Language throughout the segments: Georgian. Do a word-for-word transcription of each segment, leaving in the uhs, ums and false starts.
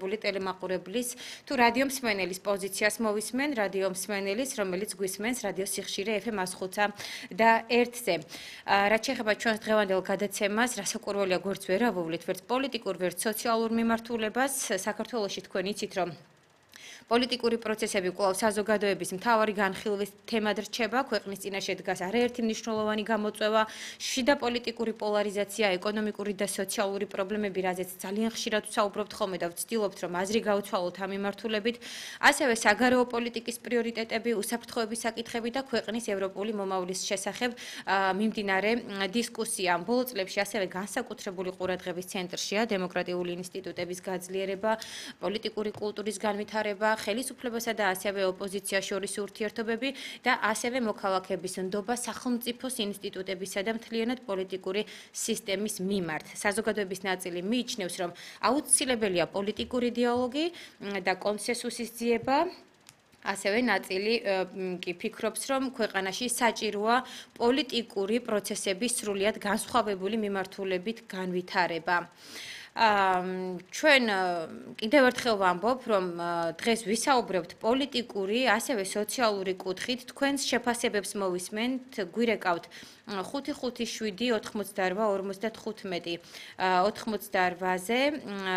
განსაკუთრებული ტელემაყურებლის თუ რადიო მსმენელის პოზიციას მოვისმენ, რადიო მსმენელის, რომელიც გვისმენს რადიო სიხშირე ეფ ემ ათს და ერთზე. რაც შეეხება ჩვენს დღევანდელ გადაცემას, რასაკვირველია გვერდს ვერ ავუვლით, ვერც პოლიტიკურ, ვერც სოციალურ მიმართულებას. საქართველოში თქვენ იცით, რომ პოლიტიკური პროცესები კვლავ საზოგადოების მთავარი განხილვის თემად რჩება, ქვეყნის წინაშე დგას არაერთი მნიშვნელოვანი გამოწვევა, შიდა პოლიტიკური პოლარიზაცია, ეკონომიკური და სოციალური პრობლემები, რაზეც ძალიან ხშირად ვსაუბრობთ ხოლმე და ვცდილობთ, რომ აზრი გავცვალოთ ამ მიმართულებით, ასევე საგარეო პოლიტიკის პრიორიტეტები, უსაფრთხოების საკითხები და ქვეყნის ევროპული მომავლის შესახებ მიმდინარე დისკუსია. ბოლო წლებში ასევე განსაკუთრებული ყურადღების ცენტრშია დემოკრატიული ინსტიტუტების გაძლიერება, პოლიტიკური კულტურის განვითარება, ხელისუფლებასა და ასევე ოპოზიციას შორის ურთიერთობები და ასევე მოქალაქეების ნდობა სახელმწიფოს ინსტიტუტებისა და მთლიანად პოლიტიკური სისტემის მიმართ. საზოგადოების ნაწილი მიიჩნევს, რომ აუცილებელია პოლიტიკური დიალოგი და კონსენსუსის ძიება. ასევე ნაწილი კი ფიქრობს, რომ ქვეყანაში საჭიროა პოლიტიკური პროცესების სრულიად განსხვავებული მიმართულებით განვითარება. ჩვენ კიდევ ერთხელ ვამბობ, რომ დღეს ვისაუბრებთ პოლიტიკური, ასევე სოციალური კუთხით, თქვენს შეფასებებს მოვისმენთ, გვირეკავთ ხუთი ხუთი შვიდი ოთხმოცდაორვა ორმოცდათხუთმეტი ოთხმოცდაორვაზე,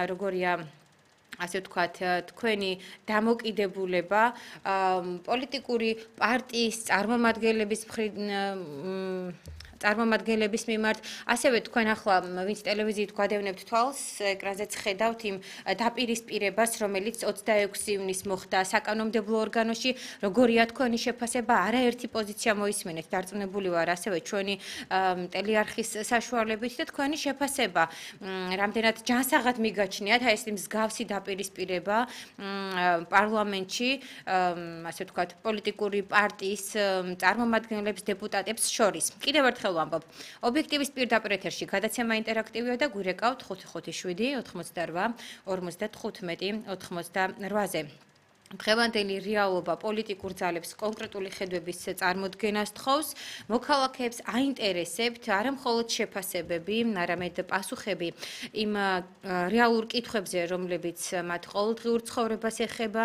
როგორია ასე ვთქვათ, თქვენი დამოკიდებულება პოლიტიკური პარტიის წარმომადგენლების წარმომადგენლების მიმართ, ასევე თქვენ ახლა ვინც ტელევიზიით გვადევნებთ თვალს, ეკრანზეც ხედავთ იმ დაპირისპირებას, რომელიც ოცდაექვსი ივნისს მოხდა საკანონმდებლო ორგანოში, როგორია თქვენი შეფასება, არაერთი პოზიცია მოისმენეთ, დარწმუნებული ვარ, ასევე ჩვენი ტელეარხის საშუალებით და თქვენი შეფასება, რამდენად ჯანსაღად მიგაჩნიათ აი ეს მსგავსი დაპირისპირება პარლამენტში, ასე ვთქვათ, პოლიტიკური პარტიის წარმომადგენლებს, დეპუტატებს შორის. კიდევ ერთხელ ვამბობ, ობიექტივის პირდაპირ ეთერში გადაცემა ინტერაქტივია და გვირეკავთ ხუთი ხუთი შვიდი ოთხმოცდაორვა ორმოცდათხუთმეტი ოთხმოცდაორვაზე. დღევანდელი რეალობა პოლიტიკურ ძალებს კონკრეტული ხედვების წარმოდგენას თხოვს, მოქალაქეებს აინტერესებთ არა მხოლოდ შეფასებები, არამედ პასუხები იმ რეალურ კითხვებზე, რომლებიც მათ ყოველდღიურ ცხოვრებას ეხება,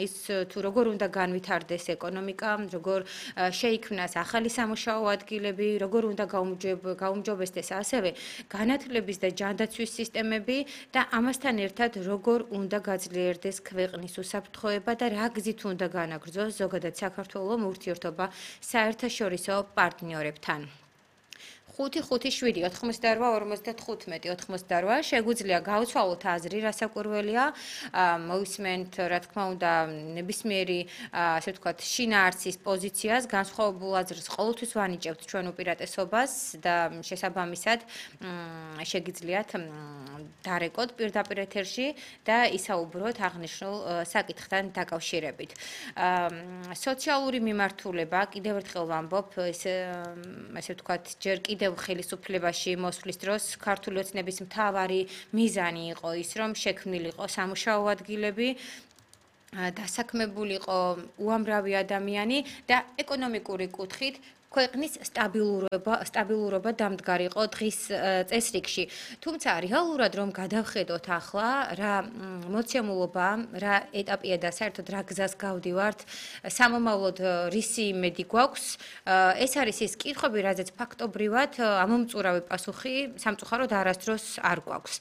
ის თუ როგორ უნდა განვითარდეს ეკონომიკა, როგორ შეიქმნას ახალი სამუშაო ადგილები, როგორ უნდა გაუმჯობესდეს ასევე განათლების და ჯანდაცვის სისტემები და ამასთან ერთად როგორ უნდა გაძლიერდეს ქვეყნის უსაფრთხოება და რა გზით უნდა განაგრძოს ზოგადად საქართველოს ურთიერთობა საერთაშორისო პარტნიორებთან. ხუთი ხუთი შვიდი ოთხმოცდაორვა ორმოცდათხუთმეტი ოთხმოცდაორვა შეგვიძლია გავცვალოთ აზრი, რასაკვირველია, მოვისმენთ, რა თქმა უნდა, ნებისმიერი, ასე ვთქვათ, შინაარსის პოზიციას, განსხვავებულ აზრს ყოველთვის ვანიჭებთ ჩვენ უპირატესობას და შესაბამისად შეგიძლიათ დარეკოთ პირდაპირ ეთერში და ისაუბროთ აღნიშნულ საკითხთან დაკავშირებით. სოციალური მიმართულება, კიდევ ერთხელ ვამბობ, ასე ვთქვათ, ჯერ კიდევ ხელისუფლებაში მოსვლის დროს ქართული ოცნების მთავარი მიზანი იყო ის, რომ შექმნილიყო სამუშაო ადგილები, დასაქმებულიყო უამრავი ადამიანი და ეკონომიკური კუთხით ქვეყნის სტაბილურობა სტაბილურობა დამდგარიყო დღის წესრიგში. თუმცა რეალურად რომ გადავხედოთ ახლა რა მოცემულობა, რა ეტაპია და საერთოდ რა გზას გავდივართ, სამომავლოდ რისი იმედი გვაქვს, ეს არის ის კითხვები, რაზეც ფაქტობრივად ამომწურავი პასუხი სამწუხაროდ არასდროს არ გვაქვს.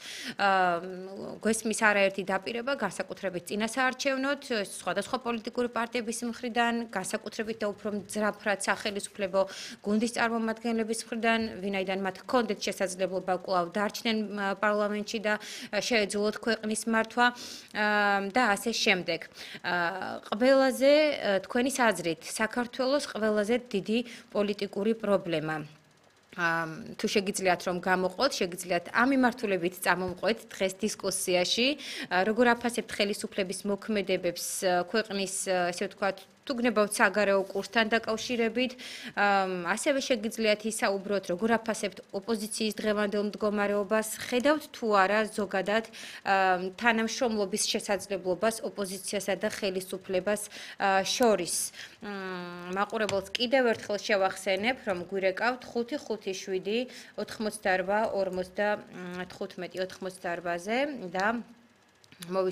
გვესმის არაერთი დაპირება, განსაკუთრებით წინასაარჩევნოდ, სხვადასხვა პოლიტიკური პარტიების მხრიდან, განსაკუთრებით და უფრო მძაფრად სახელისუფლებო გუნდის წარმომადგენლების მხრიდან, ვინაიდან მათ ჰქონდეთ შესაძლებლობა კვლავ დარჩნენ პარლამენტში და შეეძლოთ ქვეყნის მართვა და ასე შემდეგ. ყველაზე თქვენი აზრით, საქართველოს ყველაზე დიდი პოლიტიკური პრობლემა თუ შეგიძლიათ რომ გამოყოთ, შეგიძლიათ ამ მიმართულებით წამომყვეთ დღეს დისკუსიაში, როგორ აფასებთ ხელისუფლების მოქმედებებს ქვეყნის, ესე ვთქვათ, თუ გნებავთ საგარეო კურსთან დაკავშირებით, ასევე შეგიძლიათ ისაუბროთ, როგორ აფასებთ ოპოზიციის დღევანდელ მდგომარეობას, ხედავთ თუ არა ზოგადად თანამშრომლობის შესაძლებლობას ოპოზიციასა და ხელისუფლებას შორის. მაყურებელს კიდევ ერთხელ შევახსენებ, რომ გვირეკავთ ხუთი ხუთი შვიდი ოთხმოცდაორვა ორმოცდათხუთმეტი ოთხმოცდაორვაზე და მოვისმენთ